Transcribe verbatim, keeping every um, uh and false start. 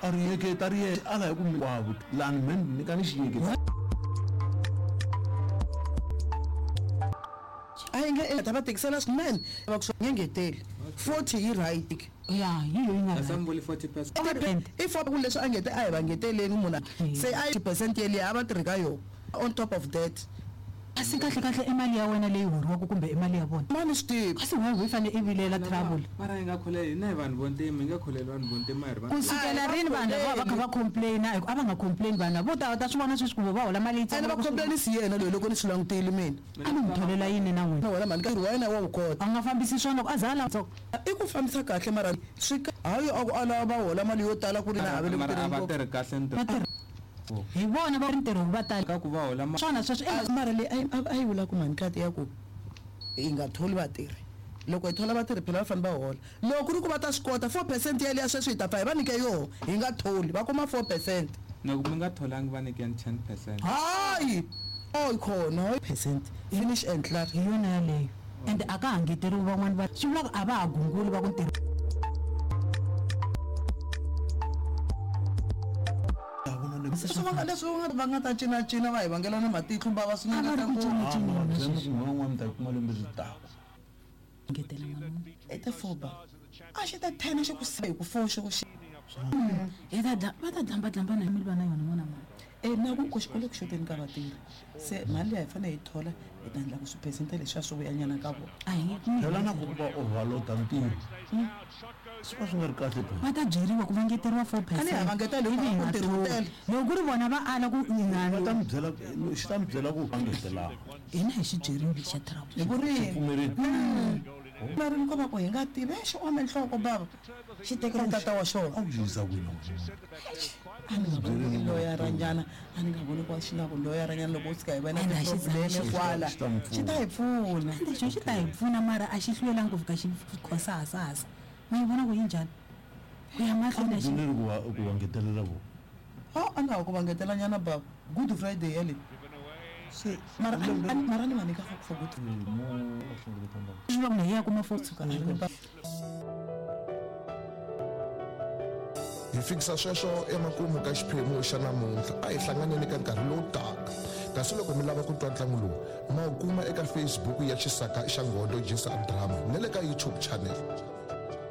A ri yeketa ri ye ala hi ku hinkwavo lani me ni ka ni xi yeketa. A yi nge ta va tikisela swinene va ku swi ngeteli forty yi right. Ya yi yo yi nga right. forty percent. I for ku leswi a ngete a hi va ngeteleni munhu se a percent yeliya a va tirhi ka yona on top of that. Kasi kahle kahle i mali ya wena leyi horiwaka kumbe i mali ya vona? Mani swi tivi. Kasi wena hi fanele i vilela trouble. Mara hi nga kholeli hina hi vanhu vo ntima, hi nga kholeli vanhu vo ntima hi ri vanhu. Ku sukela rini vanhu lava va kha va complain-a a va nga complain vanhu lava vo ta ta swi vona sweswi ku va hola mali yitsongo. Ene va complain-isi yena loyi loko ni swi langutile mina. A ni n'wi tholela yini na n'wina? Wena mhani nkarhi wa yena wa wu kota. A nga fambisi swona loko a za a lava. I ku fambisa kahle mara swi hayi a ku a lava va hola mali yo tala ku ri na havele ku tirha. Mara a va tirhi kahle ntirho. Hi vona va ri ntirho va tala ka ku va hola swona sweswi mara leyi a yi vula ku mhani kati ya ku hi nga tholi vatirhi loko hi thola vatirhi phela va fanele va hola loko ku ri ku va ta swi kota four percent yaliya sweswi hi ta pfa hi va nyike yoho hi nga tholi va kuma four percent loko mi nga tholangi va nyikeni ten percent hayi oyi khona percent finish and klaar hi yona yaleyo ende a ka ha ngeteriwi van'wani va swi vula ku a va ha gunguli va ku ntirho. Leswi va nga leswi va nga ta cinacina va hi vangela na matihlo va va swi nga ta ku n'wana ta kuma lembe ri taka ngetela n'wana i ta four ba a xi ta ten xi ku hi ku four xi ku xi hi ta dla va ta dlamba dlamba na mi va na yona n'wana mani e na ku ku xikolo ku xoteni ka vatirhi se mali leyi hi fanele hi thola hi ta endla ku swiphesente leswiya swi vuyanyana ka vona. A hi nge phela na ku va overload-a ntirho swi va swi nga ri kahle phela. Va ta byeriwa ku va ngeteriwa four percent. A ni ha va ngetela hi ku ntirho wu tele loko ku ri vona va ala ku va ta mi byela xi ta mi byela ku va ngetelanga hina hi xi byerile xa trouble hi ku rini pfumerile mara ni ko va ku hi nga tivi xi ome nhloko bava xi tekela tata wa xona a ku yisa kwini a ni nga voni loyaranyana a ni nga voni ku xi na ku loyaranyana loko u tshika hi va na ti-problem kwala xi ta hi pfuna ende xo xi ta hi pfuna mara a xi hlwelangi ku fika xi khosahasahasa ma yi vona ku yi njhani ku ya mahlweni a xi ri ku va ku va ngetelela vo a a nga ha ku va ngetelanyana bava Good Friday yale se mara mara ni va nyika for good swi vula ku hi ya kuma four tshuka a ri ni Hi fikisa sweswo emakumu ka xiphemu xa namuntlha a hi hlanganeni ka nkarhi lowu taka kasi loko mi lava ku twa ntlangu lowu ma wu kuma eka Facebook ya Xisaka xa Ngondo Jisa Drama na le ka YouTube channel.